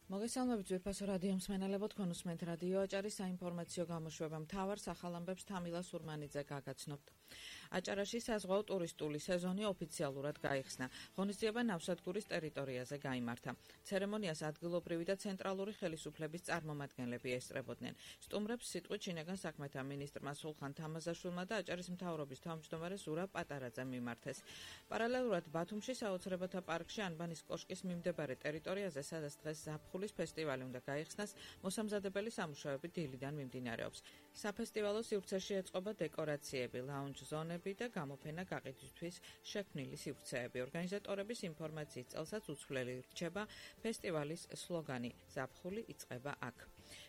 მოგესალმებით ძვირფასო რადიო მსმენელებო, თქვენ უსმენთ რადიო აჭარის საინფორმაციო გამოშვება. მთავარ სახალამბებს თამილა სურმანიძე გაგაცნობთ. აჭარაში საზღვაო ტურისტული სეზონი ოფიციალურად გაიხსნა. ღონისძიება ნავსადგურის ტერიტორიაზე გაიმართა. ცერემონიას ადგილობრივი და ცენტრალური ხელისუფლების წარმომადგენლები ესწრებოდნენ. სტუმრებს სიტყვით შინაგან საქმეთა მინისტრმა სულხან თამაზაშვილმა და აჭარის მთავრობის თავმჯდომარე ზურაბ პატარაძემ მიმართეს. პარალელურად ბათუმში საოცრებათა პარკში ანბანის კოშკის მიმდებარე ტერიტორიაზე, სადაც დღეს ზაფხულის ფესტივალი უნდა გაიხსნას, მოსამზადებელი სამუშაოები დილიდან მიმდინარეობს. საფესტივალო სივრცეში ეწყობა დეკორაციები, ლაუნჯ ზონები და გამოფენა გაყიდვისთვის შექმნილი სივრცეები. ორგანიზატორების ინფორმაციის წელსაც უცვლელი რჩება ფესტივალის სლოგანი „ზაფხული იწყება აქ“.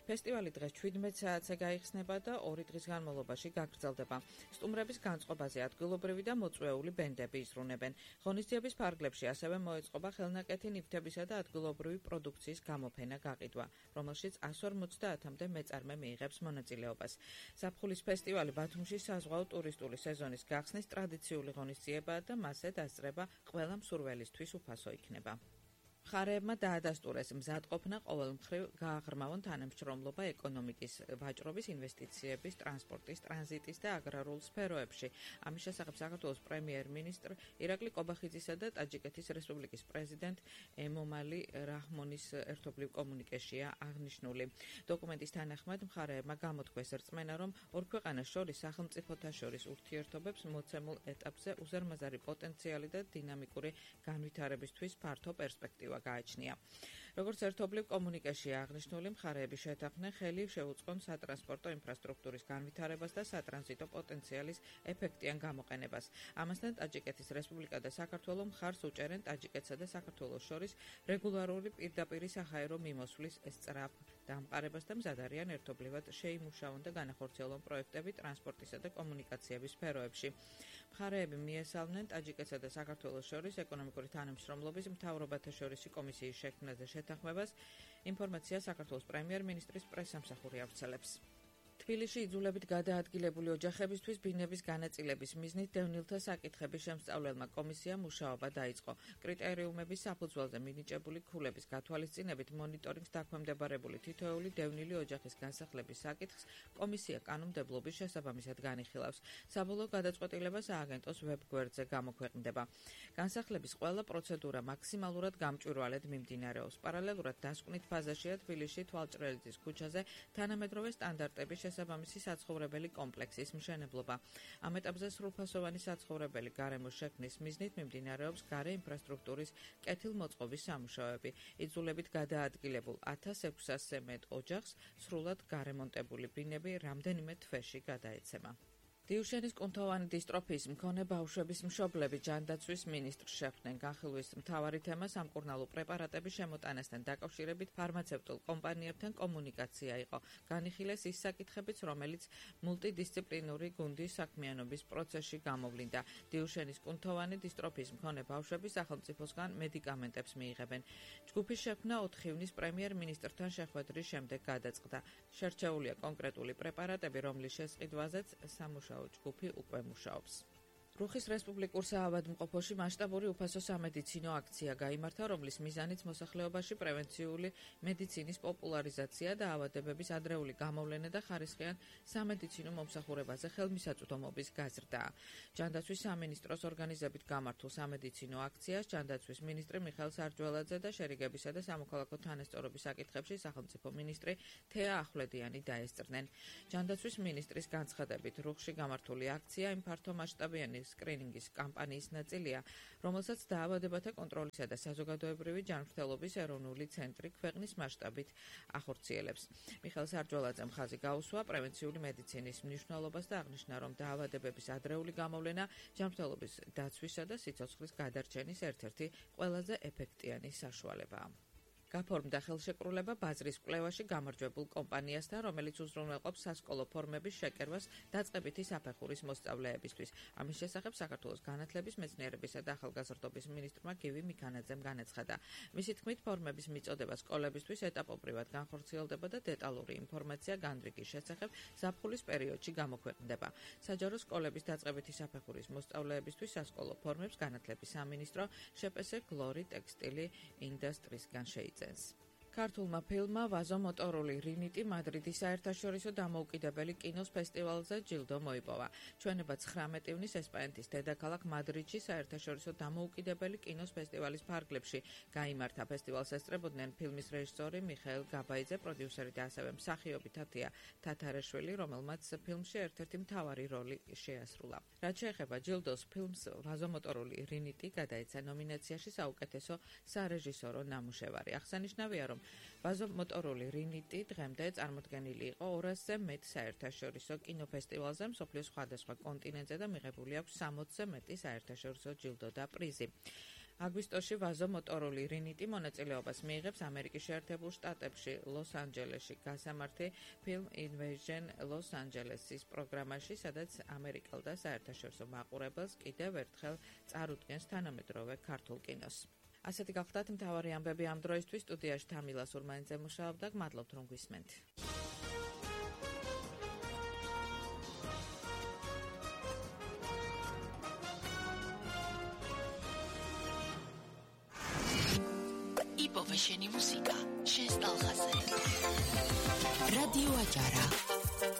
ფესტივალი დღეს 17 საათზე გაიხსნება და 2 დღის განმავლობაში გაგრძელდება. სტუმრების განწყობაზე ადგილობრივი და მოწვეული ბენდები იზრუნებენ. ღონისძიების ფარგლებში ასევე მოეწყობა ხელნაკეთი ნივთებისა და ადგილობრივი პროდუქციის გამოფენა გაყიდვა, რომელშიც 150-მდე მეწარმე მიიღებს მონაწილეობას. ზაფხულის ფესტივალი ბათუმში საზღვაო ტურისტული სეზონის გახსნის ტრადიციული ღონისძიებაა და მასზე დასწრება ყველა მსურველისთვის უფასო იქნება. მხარეებმა დაადასტურეს მზადყოფნა ყოველ მხრივ გააღრმავონ თანამშრომლობა ეკონომიკის, ვაჭრობის, ინვესტიციების, ტრანსპორტის, ტრანზიტის და აგრარულ სფეროებში. ამის შესახებ საქართველოს პრემიერ-მინისტრ ირაკლი ყობახიძისა და ტაჯიკეთის რესპუბლიკის პრეზიდენტ ემომალი რაჰმონის ერთობლივ კომუნიკეშია აღნიშნული. დოკუმენტის თანახმად მხარეებმა გამოთქვეს რწმენა, რომ ორ ქვეყანას შორის სახელმწიფოთა შორის ურთიერთობებს მოცემულ ეტაპზე უზარმაზარი პოტენციალი და დინამიკური განვითარებისთვის ფართო პერსპექტივა გააჩნია. როგორც ერთობლივ კომუნიკეშია აღნიშნული, მხარეები შეთანხმდნენ ხელი შეუწყონ სატრანსპორტო ინფრასტრუქტურის განვითარებას და სატრანზიტო პოტენციალის ეფექტიან გამოყენებას. ამასთან ტაჯიკეთის რესპუბლიკა და საქართველო მხარს უჭერენ ტაჯიკეთსა და საქართველოს შორის რეგულარული პირდაპირი საჰაერო მიმოსვლის სწრაფ დამყარებას და მზად არიან ერთობლივად შეიმუშავონ და განახორციელონ პროექტები ტრანსპორტისა და კომუნიკაციების სფეროებში. მხარეები მიესალმნენ ტაჯიკეთსა და საქართველოს შორის ეკონომიკური თანამშრომლობის მთავრობათა შორის კომისიის შექმნაზე შეთანხმებას. ინფორმაცია საქართველოს პრემიერ-მინისტრის პრესსამსახური ავრცელებს. თბილისში იძულებით გადაადგილებული ოჯახებისთვის ბინების განაწილების მიზნით დევნილთა საკითხების შემსწავლელმა კომისიამ მუშაობა დაიწყო. კრიტერიუმების საფუძველზე მინიჭებული ქულების გათვალისწინებით მონიტორინგს დაქვემდებარებული თითოეული დევნილი ოჯახის განსახლების საკითხს კომისია კანონმდებლობის შესაბამისად განიხილავს. საბოლოო გადაწყვეტილება სააგენტოს ვებგვერდზე გამოქვეყნდება. განსახლების ყველა პროცედურა მაქსიმალურად გამჭვირვალედ მიმდინარეობს. პარალელურად დასკვნით ფაზაშია თბილისში თვალჭრელიძის ქუჩაზე თანამედროვე სტანდარტების შესაბამისი საცხოვრებელი კომპლექსის მშენებლობა. ამ ეტაპზე სრულფასოვანი საცხოვრებელი გარემოს შექმნის მიზნით მიმდინარეობს გარე ინფრასტრუქტურის კეთილმოწყობის სამუშაოები. იძულებით გადაადგილებულ 1600-ზე მეტ ოჯახს სრულად გარემონტებული ბინები რამდენიმე თვეში გადაეცემა. დიუშენის კუნთოვანი დისტროფიის მქონე ბავშვების მშობლები ჯანდაცვის მინისტრს შეხვდნენ. განხილვის მთავარი თემა სამკურნალო პრეპარატების შემოტანასთან დაკავშირებით ფარმაცევტულ კომპანიებთან კომუნიკაცია იყო. განიხილეს ის საკითხებიც, რომელიც მულტიდისციპლინური გუნდის საქმიანობის პროცესში გამოვლინდა. დიუშენის კუნთოვანი დისტროფიის მქონე ბავშვები სახელმწიფოსგან მედიკამენტებს მიიღებენ. ჯგუფის შექმნა 4 ივნის პრემიერ-მინისტრთან შეხვედრის შემდეგ გადაწყდა. შერჩეულია კონკრეტული პრეპარატები, რომლის შესყიდვაზეც სამუშაო ჯგუფი უკვე მუშაობს. რუხის რესპუბლიკურ საავადმყოფოში მასშტაბური უფასო სამედიცინო აქცია გაიმართა, რომლის მიზანიც მოსახლეობაში პრევენციული მედიცინის პოპულარიზაცია და ავადებების ადრეული გამოვლენა და ხარისხიან სამედიცინო მომსახურებაზე ხელმისაწვდომობის გაზრდაა. ჯანდაცვის სამინისტროს ორგანიზებით გამართულ სამედიცინო აქციას ჯანდაცვის მინისტრი მიხეილ სარჯველაძე და შერიგებისა და სამოქალაქო თანასწორობის საკითხებში სახელმწიფო მინისტრი თეა ახვლედიანი დაესწრნენ. ჯანდაცვის მინისტრის განცხადებით, რუხში გამართული აქცია იმ ფართომასშტაბიანი სკრინინგის კამპანიის ნაწილია, რომელსაც დაავადებათა კონტროლისა და საზოგადოებრივი ჯანმრთელობის ეროვნული ცენტრი ქვეყნის მასშტაბით ახორციელებს. მიხეილ სარჯველაძემ ხაზი გაუსვა პრევენციული მედიცინის მნიშვნელობას და აღნიშნა, რომ დაავადებების ადრეული გამოვლენა ჯანმრთელობის დაცვისა და სიცოცხლის გადარჩენის ერთ-ერთი ყველაზე ეფექტიანი საშუალებაა. გაფორმდა ხელშეკრულება ბაზრის კვლევაში გამარჯვებულ კომპანიასთან, რომელიც უზრუნველყოფს სასკოლო ფორმების შეკერვას დაწყებითი საფეხურის მოსწავლეებისთვის. ამის შესახებ საქართველოს განათლების, მეცნიერებისა და ახალგაზრდობის მინისტრმა გივი მიქანაძემ განაცხადა. მისი თქმით, ფორმების მიწოდება სკოლებისთვის ეტაპობრივად განხორციელდება და დეტალური ინფორმაცია განრიგის შესახებ ზაფხულის პერიოდში გამოქვეყნდება. საჯარო სკოლების დაწყებითი საფეხურის მოსწავლეებისთვის სასკოლო ფორმებს განათლების სამინისტრო შეპესე გლორი ტექსტილი ინდუსტრიისგან შეიწევს. ქართულმა ფილმმა ვაზო მოტორული რინიტი მადრიდის საერთაშორისო დამოუკიდებელი კინოს ფესტივალზე ჯილდო მოიპოვა. ჩვენება 19 ივნის ესპანეთის დედაქალაქ მადრიდში საერთაშორისო დამოუკიდებელი კინოს ფესტივალის ფარგლებში გაიმართა. ფესტივალს ესწრებოდნენ ფილმის რეჟისორი მიხეილ გაბაიძე, პროდიუსერი და ასევე მსახიობი თათია თათარეშვილი, რომელმაც ფილმში ერთ-ერთი მთავარი როლი შეასრულა. რაც შეეხება ჯილდოს, ფილმს ვაზო მოტორული რინიტი გადაეცა ნომინაციაში საუკეთესო სარეჟისორო ნამუშევარი. აღსანიშნავია, რომ ვაზო მოტორული რინიტი დღემდე წარმოდგენილი იყო 200-ზე მეტ საერთაშორისო კინოფესტივალზე მსოფლიოს სხვადასხვა კონტინენტზე და მიღებული აქვს 60-ზე მეტი საერთაშორისო ჯილდო და პრიზი. აგვისტოში ვაზო მოტორული რინიტი მონაწილეობას მიიღებს ამერიკის შეერთებულ შტატებში, ლოს-ანჯელესში გასამართი ფილმ Invasion ლოს-ანჯელესის პროგრამაში, სადაც ამერიკელ და საერთაშორისო მაყურებელს კიდევ ერთხელ წარუდგენს თანამედროვე ქართულ კინოს. ასეთი გახლდათ მთავარი ამბები ამ დროისთვის. სტუდიაში თამილა სურმანიძე მუშაობდა. გმადლობთ, რომ გვისმენთ. იპოვე შენი მუსიკა, შენს ტალღაზე. რადიო აჭარა.